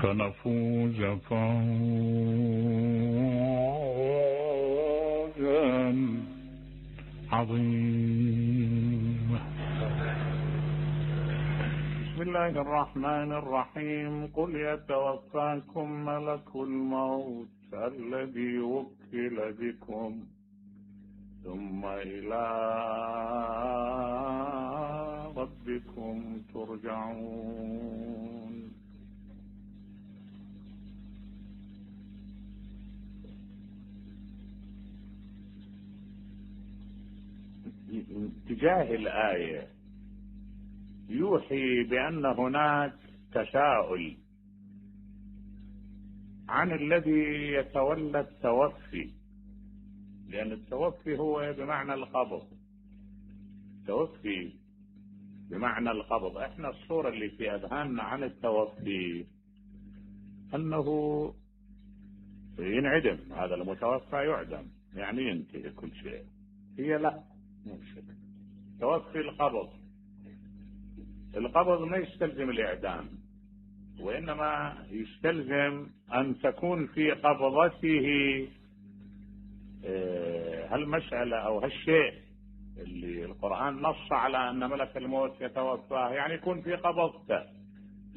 فنفوز فوزا عظيما. بسم الله الرحمن الرحيم. قل يتوفاكم ملك الموت الذي وكل بكم ثم إلى ربكم ترجعون. تجاه الآية يوحي بأن هناك تساؤل عن الذي يتولى التوفي، لأن التوفي هو بمعنى القبض، التوفي بمعنى القبض. احنا الصورة اللي في أذهاننا عن التوفي أنه ينعدم، هذا المتوفى يعدم يعني ينتهي كل شيء. هي لا، مو شك. توفي القبض ما يستلزم الإعدام، وإنما يستلزم أن تكون في قبضته هالمسألة أو هالشيء اللي القرآن نص على أن ملك الموت يتوفاه، يعني يكون في قبضته،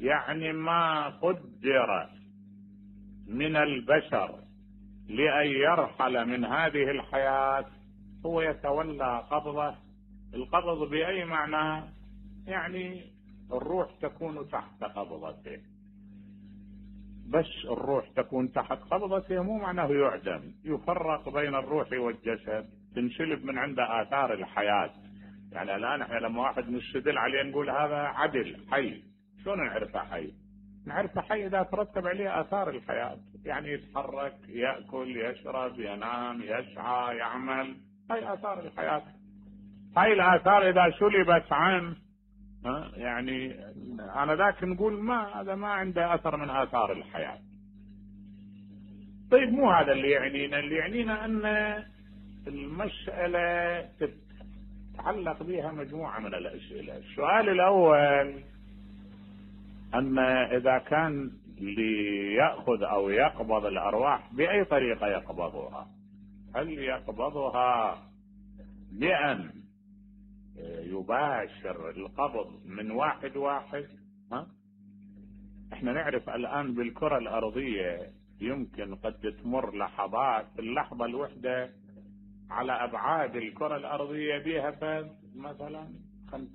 يعني ما قدر من البشر لأن يرحل من هذه الحياة هو يتولى قبضه. القبض بأي معنى؟ يعني الروح تكون تحت قبضته، بس الروح تكون تحت قبضته مو معناه يعدم. يفرق بين الروح والجسد، تنشلب من عنده آثار الحياة. يعني الآن احنا لما واحد نستدل عليه نقول هذا عدل حي، شلون نعرفه حي؟ نعرفه حي إذا ترتب عليه آثار الحياة، يعني يتحرك، يأكل، يشرب، ينام، يسعى، يعمل، هاي آثار الحياة. هاي الآثار إذا سلبت عنه يعني أنا ذاك نقول ما هذا ما عنده أثر من آثار الحياة. طيب مو هذا اللي يعنينا، اللي يعنينا أن المسألة تتعلق بها مجموعة من الأسئلة. السؤال الأول أن إذا كان ليأخذ أو يقبض الأرواح بأي طريقة يقبضها؟ هل يقبضها بأن يباشر القبض من واحد واحد؟ احنا نعرف الآن بالكرة الأرضية يمكن قد تمر لحظات، اللحظة الوحدة على أبعاد الكرة الأرضية بها مثلا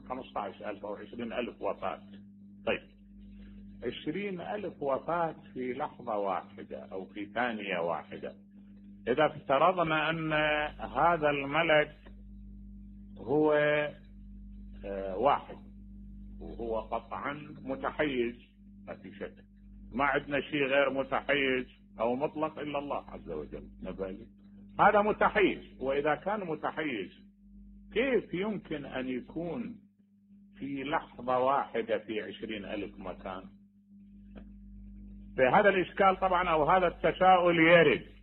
15,000 أو 20,000 وفاة. طيب 20,000 وفاة في لحظة واحدة أو في ثانية واحدة. إذا افترضنا أن هذا الملك هو واحد وهو قطعا متحيز، ما في شك، ما عندنا شيء غير متحيز أو مطلق إلا الله عز وجل نبالي، هذا متحيز. وإذا كان متحيز كيف يمكن أن يكون في لحظة واحدة في 20,000 مكان؟ فهذا الإشكال طبعا أو هذا التساؤل يرد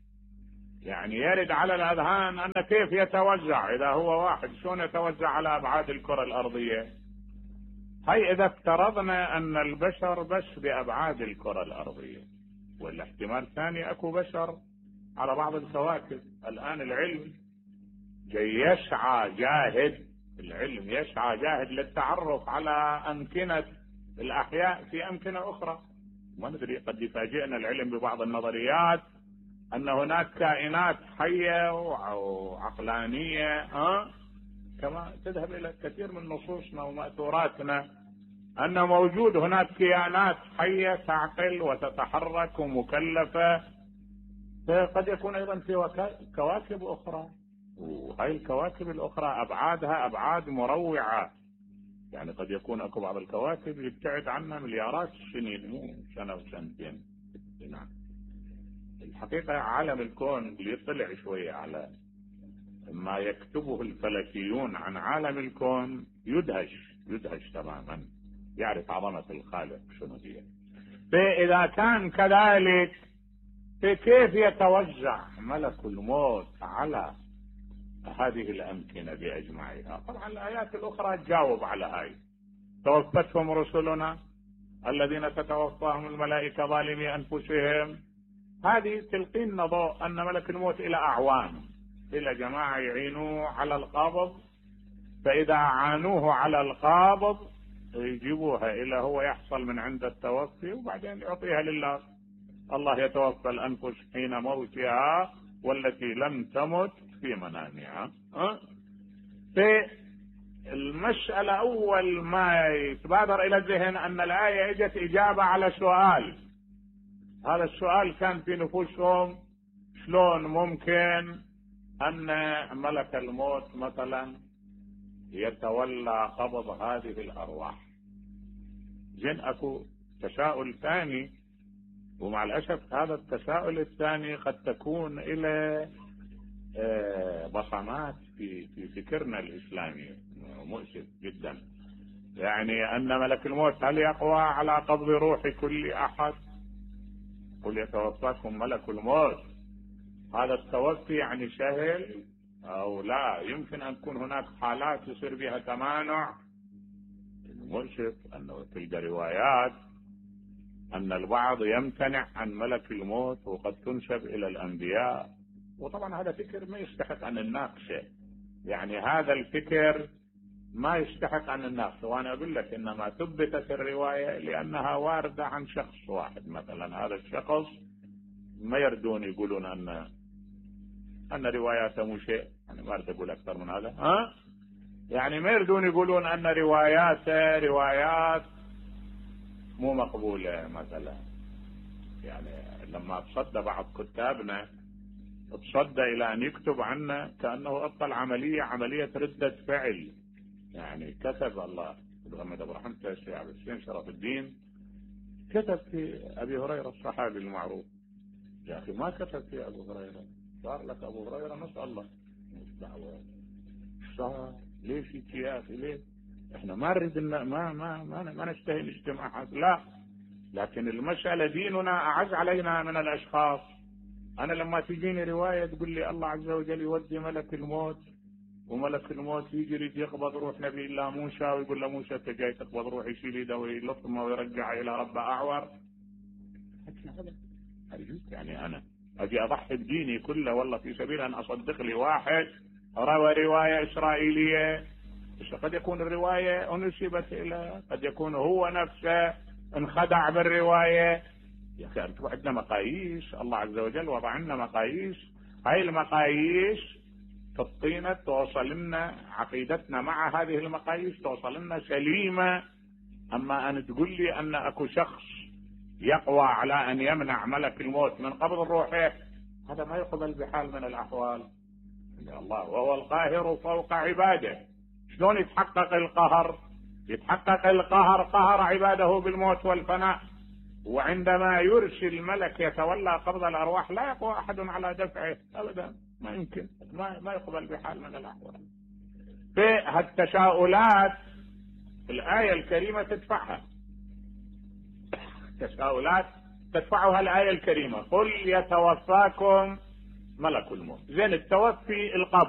على الأذهان أن كيف يتوزع إذا هو واحد، شلون يتوزع على أبعاد الكرة الأرضية؟ هاي إذا افترضنا أن البشر بس بأبعاد الكرة الأرضية، ولا احتمال ثاني أكو بشر على بعض الكواكب. الآن العلم العلم يسعى جاهد للتعرف على أمكنة الأحياء في أمكنة أخرى. ما ندري، قد يفاجئنا العلم ببعض النظريات أن هناك كائنات حية وعقلانية، كما تذهب إلى كثير من نصوصنا ومأثوراتنا أن موجود هناك كائنات حية تعقل وتتحرك ومكلفة. فقد يكون أيضا في كواكب أخرى، وهي الكواكب الأخرى أبعادها أبعاد مروعة. يعني قد يكون أكو بعض الكواكب يبتعد عنا مليارات السنين، مو سنة وسنتين. نعم، الحقيقة عالم الكون ليطلع شوية على ما يكتبه الفلكيون عن عالم الكون يدهش تماما، يعرف عظمة الخالق شنو هي. فإذا كان كذلك فكيف يتوزع ملك الموت على هذه الأمكنة بأجمعها؟ طبعا الآيات الأخرى تجاوب على هاي. توفتهم رسلنا الذين تتوفاهم الملائكة ظالمي أنفسهم. هذه تلقينا ضوء أن ملك الموت إلى أعوان، إلى جماعة يعينوه على القبض، فإذا عانوه على القابض يجيبوها إلى هو يحصل من عند التوفي، وبعدين يعطيها لله. الله يتوفى الأنفس حين موتها والتي لم تمت في منامها. في المسألة أول ما يتبادر إلى الذهن أن الآية اجت إجابة على سؤال، هذا السؤال كان في نفوسهم: شلون ممكن أن ملك الموت مثلا يتولى قبض هذه الأرواح؟ زين أكو تساؤل ثاني، ومع الأسف هذا التساؤل الثاني قد تكون إلى بصمات في فكرنا الإسلامي مؤسف جدا. يعني أن ملك الموت هل يقوى على قبض روح كل أحد؟ قل يتوفاكم ملك الموت، هذا التوفي يعني سهل أو لا؟ يمكن أن تكون هناك حالات يصير بها تمانع. المؤسف أنه تلقى روايات أن البعض يمتنع عن ملك الموت وقد تنسب إلى الأنبياء، وطبعا هذا فكر ما يستحق أن نناقشه. يعني هذا الفكر ما يستحق أن نناقشه، وأنا أقول لك إنما ثبتت الرواية لأنها واردة عن شخص واحد. مثلا هذا الشخص ما يردون يقولون أن رواياته مو شيء، يعني ما أريد أقول أكثر من هذا، يعني ما يردون يقولون أن رواياته روايات مو مقبولة مثلا. يعني لما تصدى بعض كتابنا تصدى إلى أن يكتب عنه كأنه أبطل عملية ردة فعل. يعني كتب الله يتغمد برحمته الشيخ عبد الحسين شرف الدين، كتب في أبي هريرة الصحابي المعروف. يا أخي ما كتب في أبو هريرة، صار لك أبو هريرة نسأل الله مش دعوة صار ليش يا أخي ليه؟ إحنا ما نريد ما نشتهي الاجتماعات، لا، لكن المسألة ديننا أعز علينا من الأشخاص. أنا لما تجيني رواية تقول لي الله عز وجل يودي ملك الموت، وملك الموت يجري يقبض روح نبي الله موسى، ويقول له موسى أنت جاي تقبض روح، يشيل يده ويلطمه ويرجع إلى ربه أعور. يعني أنا أجي أضحي بديني كله والله في سبيل أن أصدق لي واحد روى رواية إسرائيلية، بس قد يكون الرواية أنسبت إلى، قد يكون هو نفسه انخدع بالرواية. يا أخي أنتم عندنا مقاييس، الله عز وجل وضع لنا مقاييس، هاي المقاييس تعطينا توصل لنا عقيدتنا مع هذه المقاييس توصل لنا سليمة. أما أن تقول لي أن أكو شخص يقوى على أن يمنع ملك الموت من قبض الروح، هذا ما يقبل بحال من الأحوال. الله وهو القاهر فوق عباده. شلون يتحقق القهر؟ يتحقق القهر قهر عباده بالموت والفناء، وعندما يرسل الملك يتولى قبض الأرواح لا يقوى أحد على دفعه أبدا، ما يمكن، ما يقبل بحال من الأحوال. في هالتساؤلات الآية الكريمة تدفعها، تساؤلات تدفعها الآية الكريمة: قل يتوفاكم ملك الموت. زين التوفي القبض